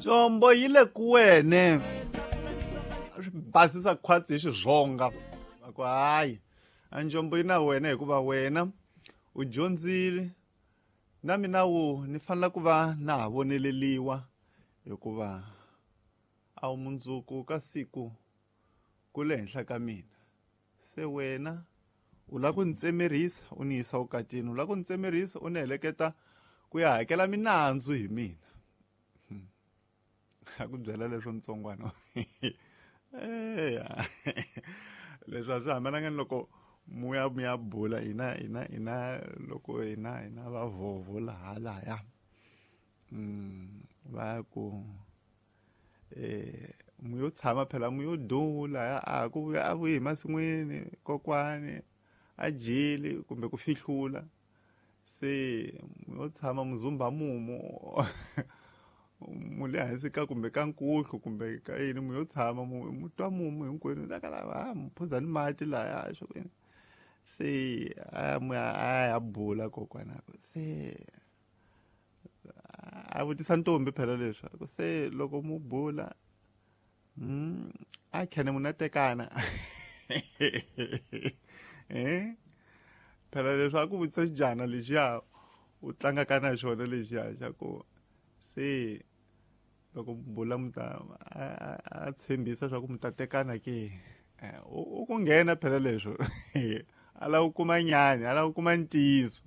Jombo yi le ku wene. Swi basisa khwatsi hi xizonga. Va ku hayi, a njombo yi na wena hikuva wena u dyondzile na mina wu ni fanele ku va na ha voneleliwa hikuva a wu mundzuku ka siku ku le henhla ka mina. Se wena u lava ku ni tsemerisa u ni yisa vukatini, u lava ku ni tsemerisa u ni heleketa ku ya hakela minandzu hi mina. A ku byela leswo ntsongwana. Eya. Leswi a swi hambananga ni loko muya mi ya bula hina hina hina loko hina hina vavhovho laha lahaya. Va ku mu yo tshama phela mu yo dula a ku vuya a vuyi hi masin'wini kokwani a dyile kumbe ku fihlula se mu yo tshama muzumba mumu mu le hansi ka kumbe ka nkuhlu kumbe ka yini mu yo tshama mu twa mumu hinkwenu la ka lava mu phuza ni mati laya swo yini se a mu a ya bula kokwana se a vutisa ntombi phela leswi ku se loko mu bula a khene munhu a tekana phela leswi a ku vutisa xijana lexiya u tlangaka na xona lexiya xa ku se loko mu bula mu ta a tshembisa swa ku mu ta tekana ke u ku nghena phela leswo a lava ku kuma nyani a lava ku kuma ntiyiso.